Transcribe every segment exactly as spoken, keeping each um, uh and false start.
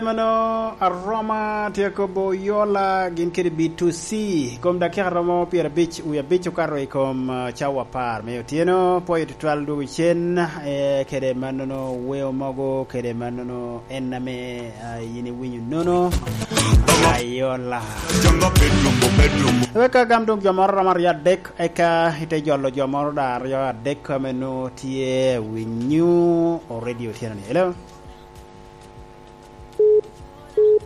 Mano aroma tye kobo yola gin kede B two C. Kom dakika romo pyerabic, wie abic okato i kom, uh, cawa apar me otyeno. Pwoyo tutwal dwogo cen, eh, kede mannono weo mogo, kede mannono en ame, ah, yin iwinyo nono. Ayola. Wek ka gam dong jo moro romo aryo adek, eka ite jolo jo moro da aryo adek ame nwo tye winyo o radio otyeno ni. Hello?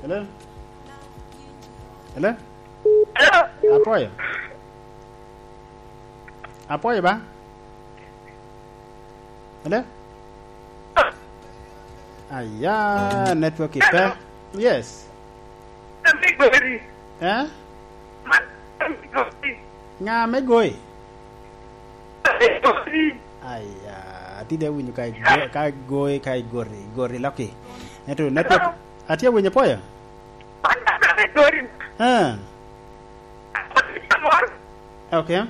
Hello? Hello? Hello? Apwoyo. Apwoyo ba? Hello? Aya, network ipe. Yes. Ame gori. Eh? Man ame gori. Nga me goi? Ame gori. Aya, atide winyo ka igo-, ka goi, ka igori, gori loki. Ento network, atye winyo poyo? Man ame gori. Eh. Amor. Okay.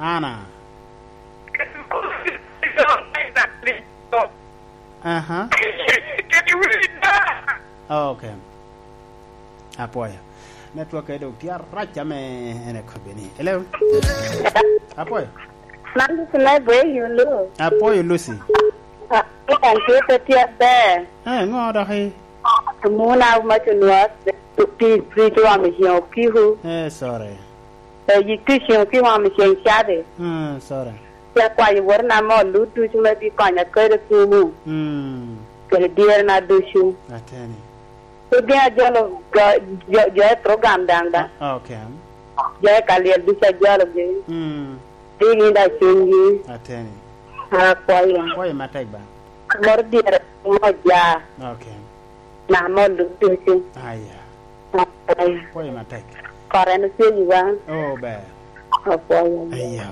Ana. Aha. Okay. Apwoyo. Network e dong tye arac ame en ekobo ni. Hello? Apwoyo. Man Lucy me Bwe Yulu. Apwoyo Lucy. Ah, kan tye pe tye aber. Eh, ŋo dok i? Muna ma cunwa pi, pi, pi wam i ceng okiku. Eh, sorry. Eh, yik pi ceng okiku wam i ceng cabi. Eh, sorry. Ci akwayo wotona me oluc ducu me bi konya kede kumu. Mm. Kede dyerena ducu. Ateni. Pe gin ajolo jo, jo, jo i program daŋ da. Ah, okay. Jo i ka lyel ducu ajologi. Mm. Di gin da cunygi. Ateni. Akwayo. Kwayo matek ba. Moro dyere mo ja. Okay. Na mo ducu. Aya. Akwayo. Kwayo matek. Kore no cunygi ba. Oh, ber. Akwayo. Aya.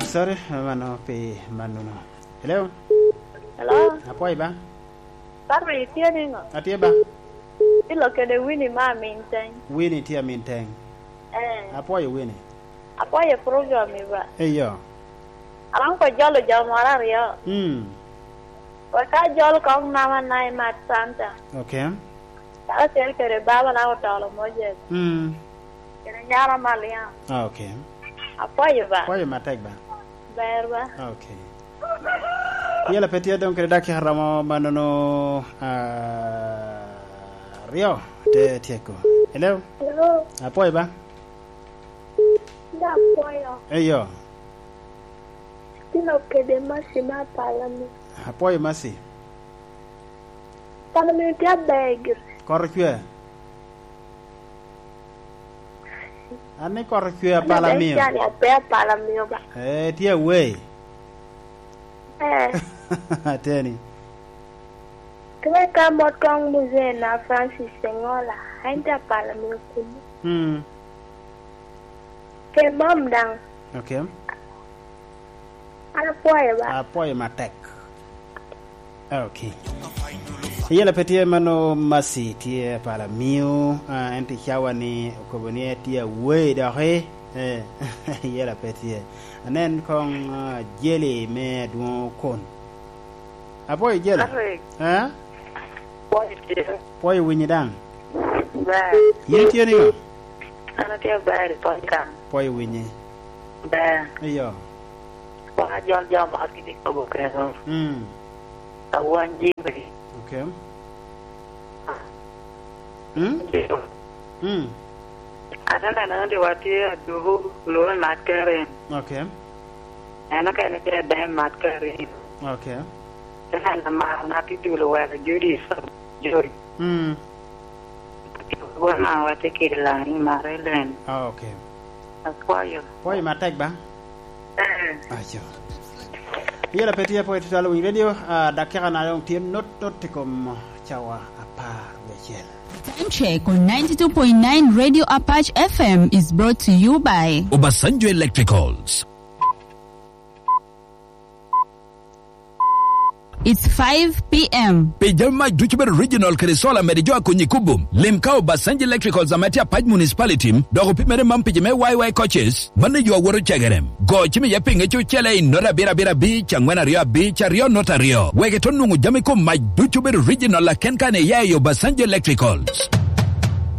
Sorry, mano pi manuno. Hello? Hello? Apwoyo ba? Sorry, itye niŋo? Atye ba? Ilo kede Winnie ma Aminteng. Winnie tye Aminteng. Eh. Apwoyo Winnie. Apwoyo program i ba. Eyo. Aromo ko jolo jo moro aryo. Mm. Wek ka jol kong nama na i Mat Santa. Okay. Ka acel kede baba na otolo Moses. Mm. Kede nyara Maliam. Ah, okay. Apwoyo ba. Apwoyo matek ba. Ber ba. Okay. Yela pe tye dong kede dakika romo manono, ah, aryo te tyeko. Hello? Hello? Apwoyo ba? Da apwoyo. Eyo. Tino kede Masi ma Palami. Apwoyo Masi. Palami tye aber gire. Koro cwe. An ni koro cwe apala mio. Cani ape apala mio ba. Eh, tye away. Eh. Ateni. Kwe ka mot kong muzee na Francis Sengola, ain tye apala mio kunu. Hmm. Ke mom daŋ. Okay. An apwoyo ba. Apwoyo matek. Okay. Yela pe tye mano Masi tye pala miu, ah, en tye cawa ni okobo ni en tye away doki. Eh, yela pe tye. Anen kong, ah, Jeli me adwoŋ okon. Apwoyo Jeli. Arek. Eh? Apwoyo tye. Pwoyo winyi daŋ. Ber. Yin itye niŋo? An atye ber i pwony kan. Pwoyo winyi. Ber. Iyo. Kwa jol jo ma gini kobo keno. Mm. Awany jiri. Okay. Mm? Mm. Ate neno ni watye aduku lube mat kerin. Okay. En okene tye dem mat kerin. Okay. Te neno mar na tye dulo wero Judi, Judi. Mm. Won ma watye kede lani mare len. Ah, okay. Apwoyo. Pwoyo matek ba? Eh. Aco. Yela pe tye pwoyo tutwal winy radio, ah, dakika na dong tye not not i kom cawa apar wiye acel. Time check on ninety-two point nine Radio Apache F M is brought to you by Obasanjo Electricals. It's five p.m. Pi jami mac ducu bedo original kede solar mede jo a konyi kubo, lim ka Obasanjo Electricals ame tye Apac Municipality, dok opimere man pi jo me Y Y coaches, mano yo awoto cegere. Go cim iye pi ŋec ocele i nota abiro abiro abic, angwen aryo abic, aryo nota aryo. Wek ito nwoŋo jami kom mac ducu bedo original aken kan iya i Obasanjo Electricals.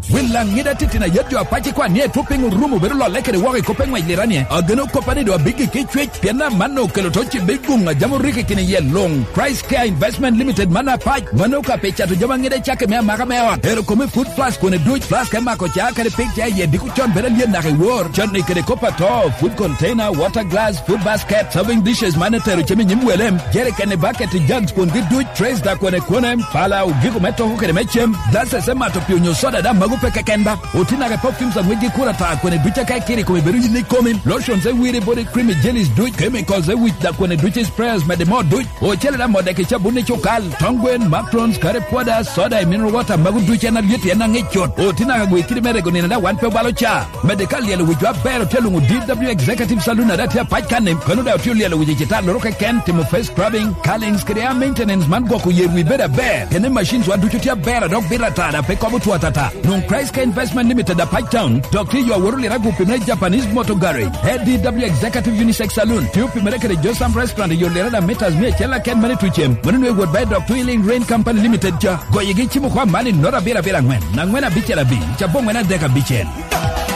Wil Laŋida titino ayet jo apac ikwan ni etwo piny orumo bedo lolle kede woko i kop eŋwec liranie. Ageno koppa ni doŋ abiggi ki cwec, pien amanno okelo to cibe i guŋ a jam oriko i kine yel luŋ. Christ Care Investment Limited man apac, mano ka pe cato jami aŋida i cakke me amaka me ot. Ero kome food plus kwene duc, plus ka imako ca kede pik ca iye diko con bedo alyen naka i wor. Con ni kede kop ato, food container, water glass, food basket, serving dishes man etero cem i nyim wele, jerikeni, bucket, jugs kwongi duc, trays da kwene kwene, pala, ogiko me toko kede me cem, glasses me mato pii onyo soda da mago pe keken ba. Oti naka i perfumes aŋwec gi kura ta kwene duc aka ikiri kome bedo yin ikomi, lotions e wiri body cream i jellies duc, chemicals e wic da kwene duc i sprayers mede mo duc, ocele da mo dek i cabun i cukal, tong gwen, macrons, curry powder, soda i mineral water mago duc en alyet en aŋic cut. Oti naka gwe kidi me rego nino da wan pe obalo ca. Mede ka lyelo wicwa aber otye luŋo D W Executive Saloon ada tye apac kanni, kono da otye olyelo wic i citalloro keken, timo face scrubbing, curlings kede hair maintenance man gwoko yer wi bedo aber. Kene machines wa ducu tye aber a dok bito ata da pe kobo two atata. Nwoŋ Christ Care Investment Limited apac town, dok tye yo aworo lira gupi me Japanese Motor Garage. A D W Executive Unisex Saloon, tye opimere kede Josam Restaurant i yo lira da meters mia acel aken mene tucem. Mano nwe wot ba i dok Twilling Rain Company Limited ca. Goyigi cimo kwa man i nota abiro abiro angwen, angwen abicel abic, aboŋwen adek abicel.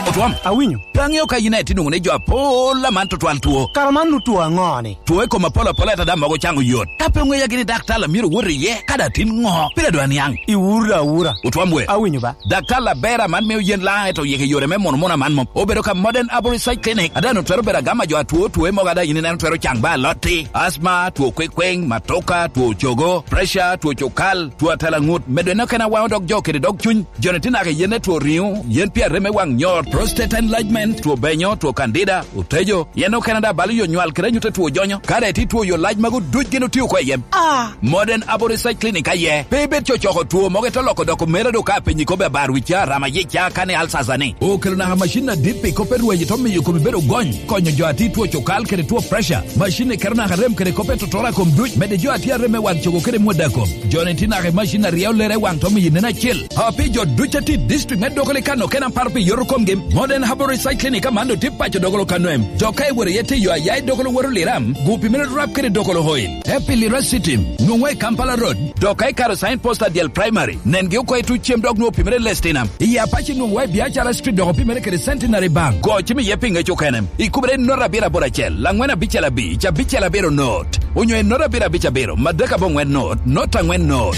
Otwom. Awinyo. Pe aŋeo ka yin aye tye nwoŋo ni jo apol aman tutwal two. Kara man nu two aŋo ni? Two i kom apol apol ata da mogo caŋo yot. Ka pe oŋeya gini daktar a myero wot iye, ka da tin ŋo? Pire dwa niaŋ. Iwura awura. Otwom we. Awinyo ba. Daktar aber aman mio yen laŋ eto yeke yore me mono mono aman mom. Obedo ka Modern Arborist Side Clinic. Ada nu twero bedo agama jo atwo two mogo ada yin ineno twero caŋ ba alotti. Asma, two kwekweng, matoka, two cogo, pressure, two cukal, two atela ŋut. Medo en okene awaŋo dog jo kede dog cuny. Joni tye naka i yen me two riŋo, yen pi arem me waŋ nyor, prostate enlargement, two benyo, two candida, otejo, yen okene da balo yo nywal kede anyut a two jonyo. Ka dai tye two yo lac magu duc gin otio oko i yem. Ah! Modern Aboriginal Clinic aye. Pe ibed cocoko two mogo ito loko doko mera do ka apenyi kobe abar wica, rama yica, kani alsasa ni. Okelo naka macin adit pi kop e rweny ito miyo komi bedo gony, konyo jo ati two cukal kede two pressure. Macin ni keto naka rem kede kop e totora kom duc, mede jo ati arem me waŋ cogo kede mwada kom. Joni tye naka i macin a ryeo lere i waŋ to miyo nen acel. A pi jo duc a tye i district me Dogoli kano kena paro pi yoto komgi, Modern Herbal Research Clinic aman doŋ tye paco Dogolo kano em. Dok ka iworo iye tye yo aya i Dogolo woro Liram, gupi mere rap kede Dogolo Oil. Te pi Lira City, nwoŋwa i Kampala Road. Dok ka ikaro sign post adyel primary, nengi oko i tuc cem dok nwoŋo pimere Lestinam. I Apac nwoŋwa i Biacara Street dok opimere kede Centenary Bank. Go cim iye pi ŋec okene. Ikubere i nota abiro aboro acel, angwen abicel abic, abicel abiro not. Onyo i nota abiro abic abiro, madek aboŋwen not, not angwen not.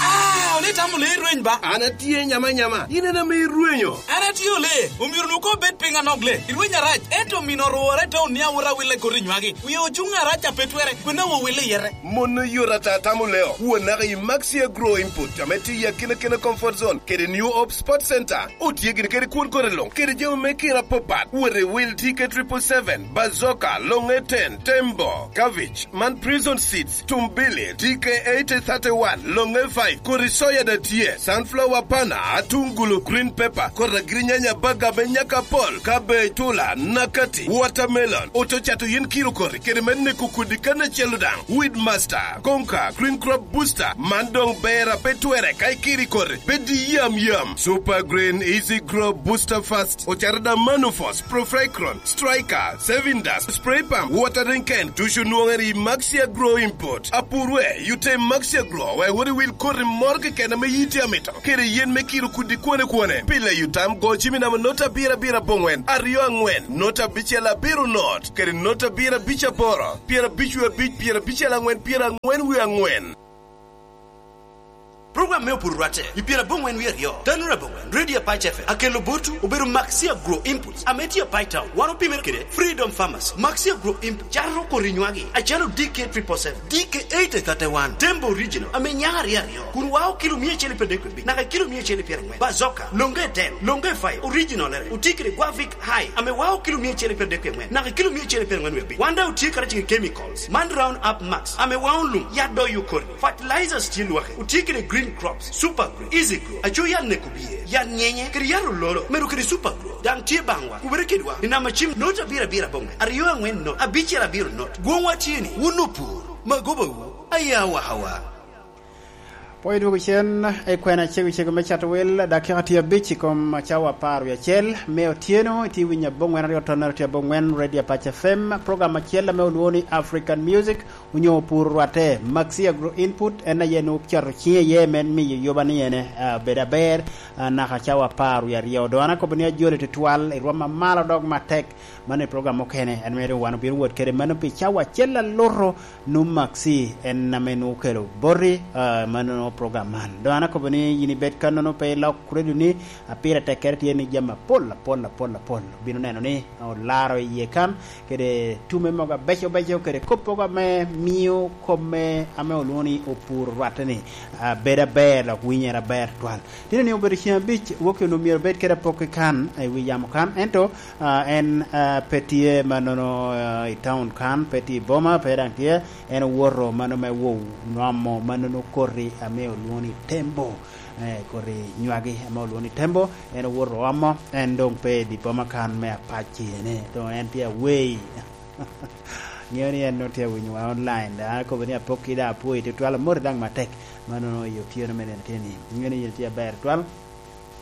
Ah, ole itamo lee rweny ba? An atye nyama nyama. In en ame irwenyo. An atye ole. Omyero nu ko bed piny anok le. Irweny arac. Ento mino orwore te onia wora wille koti nywagi. Wie ocuŋ arac a pe twere. Kwena wo wille yere. Mon oyot ata tamo leo. Won naka i Maxi Agro Input, ame tye i akina kina comfort zone, kede New Hope Sports Center. Otye gini kede kwon kore luŋ, kede jami me kina papat. Wot i wil T K triple seven, Bazooka, Longe ten, Tembo, Cabbage, man Prison Seeds, Tumbili, T K eighty thirty-one, Longe five, kodi soya da tye, sunflower pana, atungulu, green pepper, kodi agirinyanya, baga me nyaka pol, cabbage, tula, nakati, watermelon, oto cato yin kiro kodi, kede me neko kodi kan acel daŋ. Weed Master, Konka, Green Crop Booster, man doŋ ber a pe twere ka ikiri kodi, bed i yam yam. Super Green, Easy Grow, Booster Fast, ocaro da Manufos, Profecron, Striker, Saving Dust, Spray Pump, Watering Can, ducu nwoŋere i Maxi Agro Import. Apurwe, yute Maxi Agro, wek wot iwil koti moro keken ame yiti amito, kede yen me kiro kudi kwone kwone. Pile yutam go cimi namo nota abiro abiro aboŋwen, aryo angwen, nota abicel abiro not, kede nota abiro abic aboro, pyera abic wie abic, pyera abicel angwen, pyera angwen wie angwen. Program me opuro rwatte i pyera aboŋwen wie aryo, Tanura aboŋwen, Radio Apac F M, akelo botwu, obedo Maxi Agro Inputs, ame tye Apac Town. Wan opimere kede Freedom Farmers. Maxi Agro Inputs cato kodi nywagi, acalo D K triple seven, D K eighty thirty-one, Tembo Original, ame nyak aryo aryo, kun wao kilo mia acel i pyera adek wie abic, naka kilo mia acel i pyera angwen. Bazoka, Longe ten, Longe five, Original ere, oti kede Guavic High, ame wao kilo mia acel i pyera adek wie angwen, naka kilo mia acel i pyera angwen wie abic. Wan daŋ otye karacel kede chemical man Round Up Max, ame wao lum, yat doyo kodi. Fertilizers tye lwaki, otye kede Green Crops, Super Grow, Easy Grow, aco yat neko bye, yat nyenye, kede yat ololo, medo kede Super Grow. Daŋ tye baŋwa, kubere kedwa, i namba cim, not abiro abiro aboŋe, aryo aŋwen not, abicel abiro not. Gwoŋwa tye ni, wun opur, magobawu, aya wakawa. Pwony dwogo cen, i kwena cego cego me cato wel, dakika tye abic i kom cawa apar wie acel me otyeno, itye winyo aboŋwen aryo tonere tye aboŋwen, Radio Apac F M, program acel ame olwoŋo ni African Music, onyo pur rwatte. Maxi Agro Input en aye nwoŋo cato ciŋe iye me miyo yoba ni ene, ah, bedo aber, ah, naka cawa apar wie aryo. Doŋ an akobo ni ajoli tutwal i rwom amalo dok matek. Mano i program mukene, en mere wan obino wot kede mano pi cawa acel aluto, nwoŋo Maxi en ame nwoŋo okelo boti, ah, mano nwoŋo program man. Doŋ an akobo ni yin ibed kannono pe ilok redio ni, ah, pire tekkere tye ni jami apol, apol, apol, apol. Obino neno ni olaro iye kan, kede tume mogo abeco beco, kede kop mogo ame mio kop me, ame olwoŋo ni opur rwatte ni, ah, bedo aber, dok winyere aber twal. Tino ni obedo ceng abic, wok onwoŋo myero obed kede apok i kan, i wi yamo kan, ento, ah, en, ah, pe tye mannono, ah, i town kan, pe tye i boma, pe daŋ tye, en owoto mano me wo nwomo mannono koti ame olwoŋo ni tembo, eh, koti nywagi ame olwoŋo ni tembo, en owoto omo, en doŋ pe i di boma kan me Apac ene, doŋ en tye awei. Ŋeo ni en nwoŋo tye awinyowa online, daŋ akobo ni apokki daŋ apwoyi tutwal, amoti daŋ matek. Mano i otyeno me nino tye ni, ŋeo ni yin tye aber tutwal,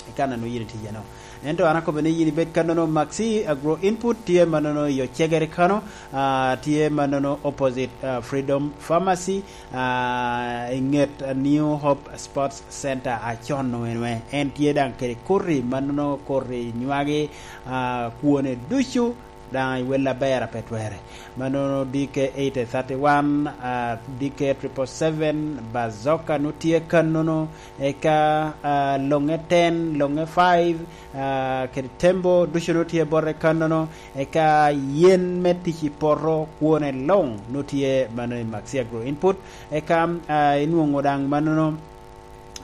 i kan a nwoŋo yin itye iyeno. Ento an akobo ni yin ibed kannono, Maxi Agro Input tye mannono i Ocegere kano, ah, tye mannono opposite, ah, Freedom Pharmacy, ah, i ŋet, ah, New Hope Sports Center, acon-nu en we. En tye daŋ kede koti mannono koti nywagi, ah, kwone ducu, daŋ i wel aber a pe twere. Mannono D K eight thirty-one, ah, D K triple seven, Bazooka nu tye kannono, eka, ah, Loŋe ten, Loŋe five, ah, kede Tembo ducu nu tye bote kannono, eka yen me tic i poto kwone luŋ nu tye mano i Maxi Agro Input, eka, ah, inwoŋo daŋ mannono,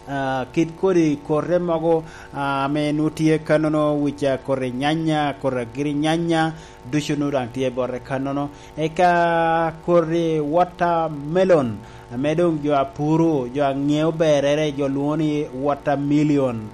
ah, kit kodi kote mogo, ah, ame nu tye kannono, wica kodi nyanya, kodi agiri nyanya, ducu nu daŋ tye bote kannono. Eka kodi watermelon, ame doŋ jo a puro, jo a ŋeo berere, jo lwoŋo ni watermillion,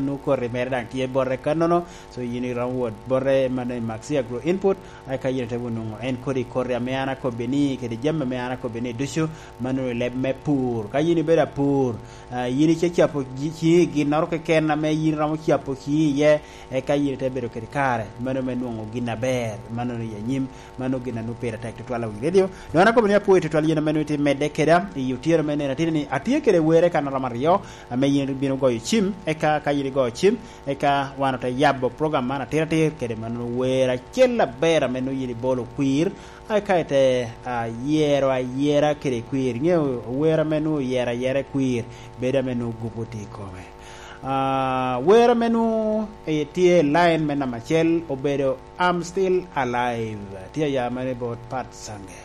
nu kodi mere daŋ tye bote kannono. So yin iromo wot bote mano i Maxi Agro Input, eka yin ite wunu nwoŋo en kodi koti ame an akobbi ni, kede jami ame an akobbi ni ducu, mano i leb me pur. Ka yin ibedo apur, ah, yin ice capo gi-, ciŋi i ginnoro keken ame yin iromo capo ciŋi iye, eka yin ite bedo kede kare, mano me nwoŋo gin aber, mano i anyim, mano gin a nwoŋo pire tek tutwal i wi redio. Doŋ an akobo ni apwoyi tutwal yin ame nwoŋo itye medde keda i otyeno me nino ateni ni atye kede were kan romo aryo, ame yin ibino goyo cim, eka ka yin igoyo cim, eka wan ote yabo program man atiratir kede mano wer acel aber ame nwoŋo yin ibolo kwir, eka ite, ah, yero ayera kede kwir. Iŋeo wer ame nwoŋo oyero ayera i kwir, bedo ame nwoŋo gupu tye i kome. Ah, wer ame nwoŋo, eh, tye i line me namba acel obedo I'm Still Alive. Tye aya mere bot Pat Sange.